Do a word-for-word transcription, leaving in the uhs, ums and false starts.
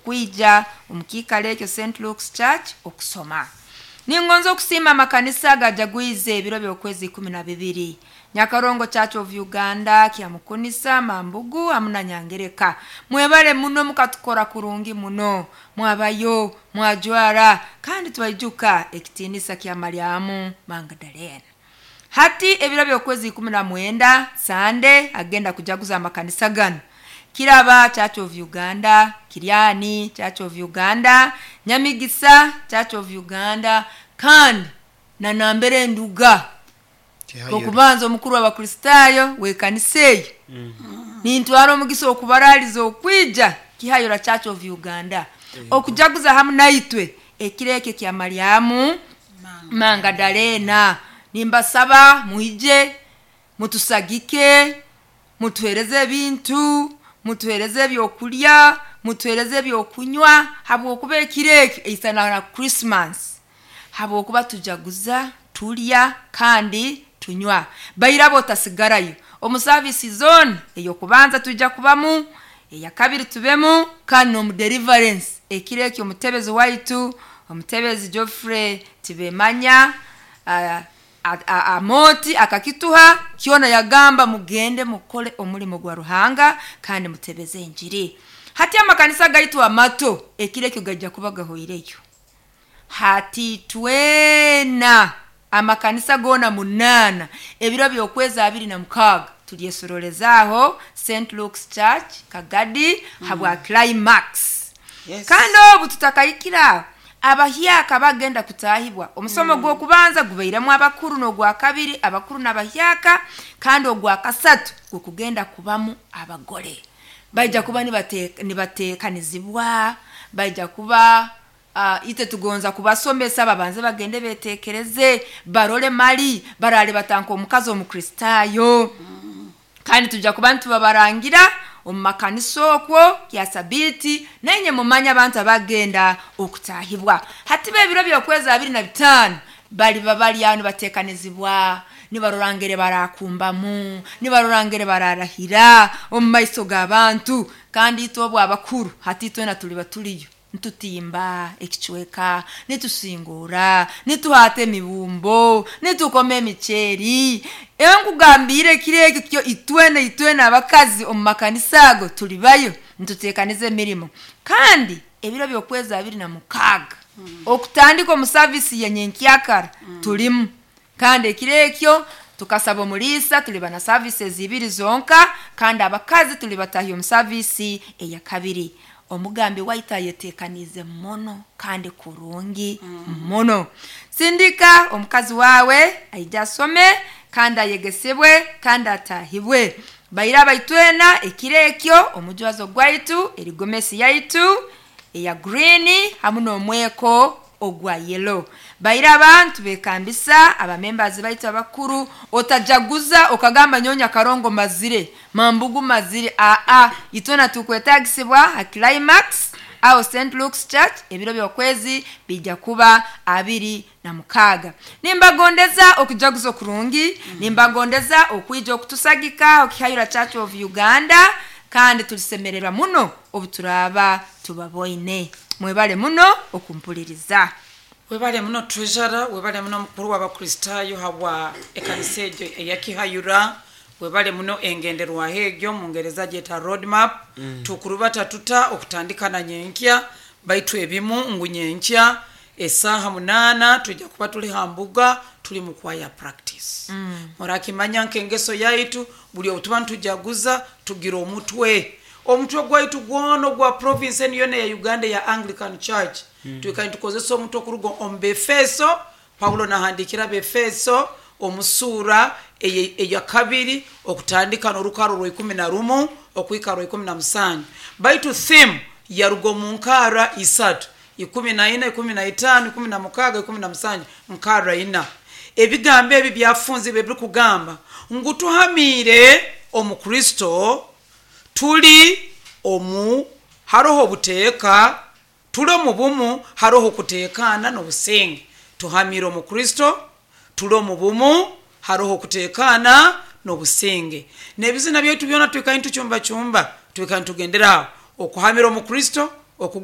Kwija omu kiikaro ekyo Saint Luke's Church okusoma. Ningonza okusiima amakanisa gajagwize ebiro by'okwezi ikumi na bibiri: Nyakarongo Church of Uganda, Kyamukunisa, Mambugu hamu na Nyangereka. Mwebale muno, mukatukora kurungi muno, mwabayo mwajwara, kandi twaijuka ekitiinisa kya Mariamu Magdalena. Hati ebiro by'okwezi ikumi na mwenda, Sande, agenda kujaguza amakanisa gano: Kiraba Church of Uganda, Kiryani Church of Uganda, Nyamigisa Church of Uganda, kandi na nambere nduga okubanza omukuru w'Abakristaayo w'ekanisa eyo. Nintwara omugisa okubaraliza okwija Kihayora Church of Uganda okujaguza hamu naitwe ekiro ekyo kya Mariamu Mangadalena. Nimbasaba mwije mutusagike, mutuhereze ebintu, mutuhereze ebyokulya, mutuhereze ebyokunywa, habwokuba ekiro ekyo eisana na Christmas, habwokuba tujaguza, tulya kandi tunywa. Bairaba otasigarayo omu service zone ey'okubanza, tujja kubamu, eyakabiri tubemu, kandi n'omu deliverance. Ekiro ekyo omutebezi waitu, Omutebezi Geoffrey Tibemanya ah, a- a- amoti akakituha kyona, yagamba mugende mukole omulimo gwa Ruhanga kandi mutebeze enjiri. Hati amakanisa gaitu amato ekiro ekyo gajja kuba gahoireyo. Hati twena amakanisa goona munaana, ebiro by'okwezi abiri na mukaaga tulyesorolezaaho Saint Luke's Church Kagadi habwa climax. Yes. Kandi obu tutakahikira, abahyaka bagenda kutahibwa. Omusomo gw'okubanza gubairemu abakuru, n'ogwa kabiri abakuru n'abahyaka, kandi ogwa kasatu gukugenda kubamu abagore. Baija kuba nibate- nibateekanizibwa, baija kuba uh, ite tugonza kubasomesa babanze bagende betekereze, barole mali barale batanka omukazi Omukristaayo. Kandi tujja kuba nitubabarangira omu makanisa okwo kya Sabiiti, nainye mumanye abantu abagenda okutahibwa. Hati bebiro by'okwezi abiri na bitaano baliba bali aho nibateekanizibwa, nibarorangere barakumbamu, nibarorangere bararahira omu maiso g'abantu. Kandi itwe obwo abakuru, hati itwena tuliba tuliyo nitutimba ekicweka, nitusingura, nituhata emibumbo, nitukoma emiceeri. Enkugambire ekiro ekyo kyo itwena itwena abakazi omu makanisa ago tulibayo nituteekaniza emirimo. Kandi ebiro by'okwezi abiri na mukaaga, okutandika omu savisi yenyenkyakara tulimu. Kandi ekiro ekyo tukasaba omuliisa, tuliba na services ibiri zonka, kandi abakazi tulibatahya omu savisi eyakabiri. Omugambi waitu ayetekanize muno kandi kurungi muno. Sindika omukazi wawe aije asome kandi ayegesebwe kandi atahibwe. Baira abaitwena, ekiro ekyo omujwazo gwaitu erigomesi yaitu eya green hamu n'omweko ogwa yellow. Baira abantu bekambisa abamembazi baitu abakuru, otajaguza okagamba nyonya Karongo mazire, Mambugu mazire. Aa, itwena tukwetagisibwa ha climax aho Saint Luke's Church. Ebiro by'okwezi bijja kuba abiri na mukaaga. Nimbagondeza okujaguza okurungi, nimbagondeza okwija okutusagika Okihayura Church of Uganda, kandi tulisemererwa muno obu turaba tubaboine. Mwebale muno okumpuliriza. Webale muno treasurer, webale muno mukuru w'Abakristaayo habwa ekanisa egyo eyakihayura. Webale muno engenderwaho egyo, mungereza gyeta roadmap mm. Tukurubata tuta okutandika na nyenkya? Baitu ebimu ngu nyenkya esaaha munaana tujja kuba tuli ha mbuga, tuli mu choir practice mm. Murakimanya nk'engeso yaitu, buli obu tuba nitujaguza tugira omutwe omutwe gwaitu gwona ogwa province enu yona eya Uganda ya Anglican Church mm. Twikale nitukozesa omutwe okuruga omu Befeso. Paulo nahandikira Befeso omusuura eyakabiri, okutandika n'orukaro rwa ikumi na rumu okuhika rwa ikumi na musanju. Baitu theme yaruga omu nkara isatu: ikumi na ina, ikumi na itaano, ikumi na mukaaga, ikumi na musanju, nkara ina. Ebigambo ebi byafunzibwe ebirikugamba ngu tuhamiire omu Kristo, tuli omu, haroho obuteeka, tuli omu bumu, haroho okuteekaana n'obusinge. Tuhamiire omu Kristo, tuli omu bumu, haroho okuteekaana n'obusinge. N'ebizina byaitu byona twikale nitucumbacumba, twikale nitugendera aho okuhamira omu Kristo okuguma.